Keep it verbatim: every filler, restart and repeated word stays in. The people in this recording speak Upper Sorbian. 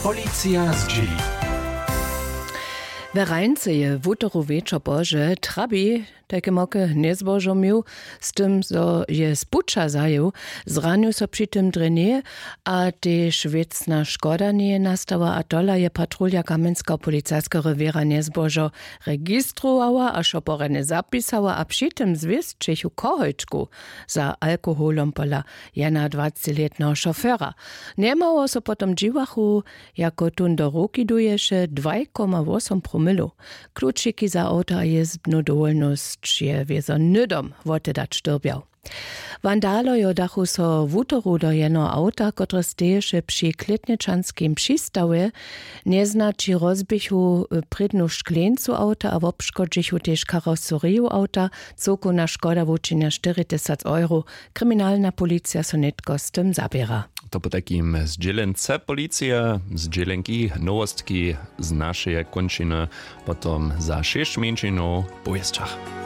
Policija zdźěli. We Rajnce je wutoru wječor pozdźe trabi tajke moke njezbožo měł, z tym zo je z puća zajěł, zranił so při tym drje njeje, a tež wěcna škoda njeje nastała, a tola je patrulja kamjenskeho policiskeho rewěra njezbožo registrowała a so porjadnje zapisała a při tym zwěsćechu koholčku za alkoholom pola jednadwacećilětneho šofera. Njemało so potom dźiwachu, jako tón do ruki duješe dwaj koma wosom promilow. Klučiki za awta a jězbnu dowolnosć je wězo hnydom wotedać dyrbjał. Wandalojo dachu so wutoru do jenoho awta, kotrež steješe při klětnječanskim přistawje. Njeznaći rozběchu prědnu škleńcu awta a wobškodźichu tež karoseriju awta. Cyłkowna škoda wučinja štyri tysac euro. Kriminalna policija so nětko z tym zaběra. To potajkim zdźělence policije. Zdźělenki, nowostki z našeje kónčiny potom za šěsć mjeńšinow w powěsćach.